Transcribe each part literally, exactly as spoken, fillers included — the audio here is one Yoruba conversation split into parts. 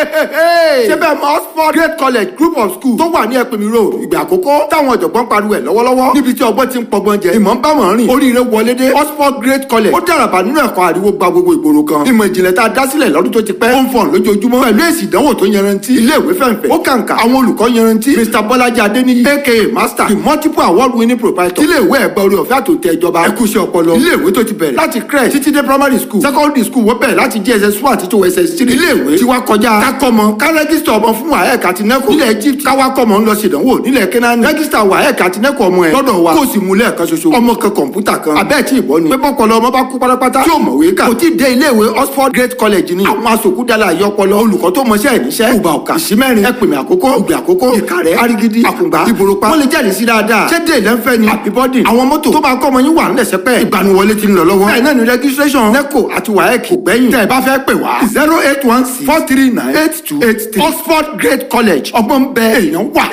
Ṣé bẹ́ẹ̀ mọ Oxford Great College Group of School tó wà ní Ẹ̀pìnmi Road, Ìgbà Àkókò, táwọn ọ̀jọ̀gbọ́n pariwo ẹ̀ lọ́wọ́lọ́wọ́, níbi tí ọgbọ́n ti ń pọgbọ́n jẹ, ìmọ̀ ń bá wọn rìn, oríire wọlé dé. Oxford Great College ó dàràbà nínú ẹ̀kọ́, ariwo gba gbogbo ìgboro kan. Ìmọ̀ ìjìnlẹ̀ tá a dá sílẹ̀ lọ́dún tó ti pẹ́ ó ń fọ̀n lójoojúmọ́ pẹ̀lú èsì ìdánwò tó yanrantí. Ilé ìwé fẹ̀ǹfẹ̀, ó kàǹkà, àwọn olùkọ́ yanrantí. Mister Bọ́lájí Adéníyì, aka Master, the multiple award winning proprietor. Ilé ìwé ẹ̀gbẹ́ orí ọ̀fẹ́ àtòtẹ́ ìjọba ẹ̀kúṣẹ́ ọpọlọ. Ilé ìwé tó ti bẹ̀rẹ̀ láti crèche títí dé primary school, secondary school, wọ́n bẹ̀rẹ̀ láti J S S one títí wọ S S three. Ilé ìwé tí wá kọjá kákọ́mọ ká register ọmọ fún WAEC àti NECO nílẹ̀ Egypt, káwá kọ́mọ ń lọ sí ìdánwò nílẹ̀ Kẹ́nání. Register WAEC àti NECO ọmọ ẹ̀ lọ́dọ̀ wa, kó o sì mú lẹ́ẹ̀kan ṣoṣo, ọmọ kan, kọ̀ǹpútà kan. Abẹ́ẹ̀ tí ìbọn ni pé bọ́pọlọ ọmọ bá kú pátápátá tí ò mọ̀wé kà, kò tí ì dé ilé ìwé Oxford Great College ni. Àwọn asòkúdàlà àyọpọlọ, olùkọ́ tó mọṣẹ́ ẹ̀ níṣẹ́, Ùbà, Ọ̀kà, Ìsímẹ́rin, Ẹ̀pìnmẹ̀ Àkókò, Ìgbè Àkókò, Ìkàrẹ́, Arigidi, Àkùngbà, Ìbòròpá, wọ́n lè jẹ́rìí sí dáadáa. Ṣé dé ìlẹ́nfẹ́ ni àbíbọ́dì? Àwọn mọ́tò tó máa kọ́ ọmọ yín wà ńlẹ̀ sẹ́pẹ́. Ìgbaniwọlé ti ń lọ lọ́wọ́, bẹ́ẹ̀ náà ni registration NECO àti WAEC kò gbẹ́yìn. Tẹ́ ẹ bá fẹ́ pè wá, zero eight one six four three nine eight two eight three. Oxford Great College, ọgbọ́n bẹ, èèyàn wà.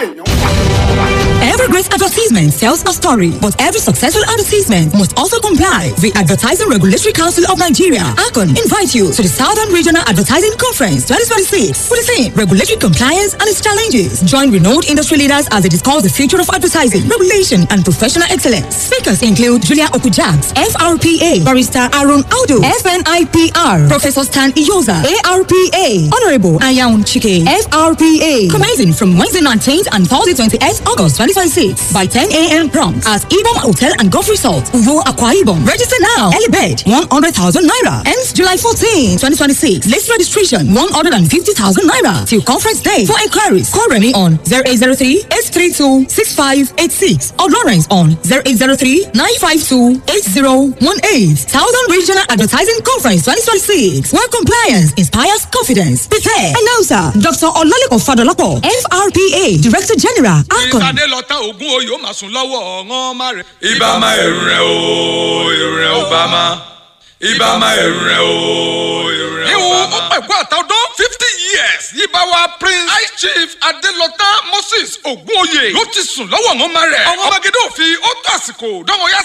Every great advertisement tells a story, but every successful advertisement must also comply. The Advertising Regulatory Council of Nigeria, ARCON, invite you to the Southern Regional Advertising Conference twenty twenty-six for the theme Regulatory Compliance and its Challenges. Join renowned industry leaders as they discuss the future of advertising, regulation, and professional excellence. Speakers include Julia Okujaks, F R P A, Barrister Aaron Audu, F N I P R, Professor Stan Iyoza, A R P A, Honorable Ayaun Chike, F R P A. Commencing from Wednesday nineteenth and Thursday twenty-eighth August twenty twenty-six by ten a m prompt at Ibom Hotel and Golf Resort, Uvo, Akwa Ibom. Register now. Early bird, one hundred thousand naira. Ends July fourteenth, twenty twenty-six. Late registration, one hundred fifty thousand naira till conference day. For inquiries, call Remy on zero eight zero three eight three two six five eight six or Lawrence on zero eight zero three nine five two eight zero one eight. Southern Regional Advertising Conference twenty twenty-six, where compliance inspires confidence. Prepare. Announcer, Doctor Olalekan Fadolapo, F R P A, Director General, ARCON. Ìsàdé lọ́tà ògún oyè ó máa sùn lọ́wọ́ ọ̀ràn má rẹ̀. Ibà máa ẹ̀rù rẹ̀ o, ẹ̀rù rẹ̀ ò bá má. Ibà máa ẹ̀rù rẹ̀ o, ẹ̀rù rẹ̀ ò Ìhun bá ó má. pẹ̀kú àtàdún fifty years, yíba wa Prince High Chief Adelọta Moses Ògúnoyè ló ti sùn lọ́wọ́ ọ̀ràn má rẹ̀. Ọ̀ràn magede òfin ó tó àsìkò dánwò yá.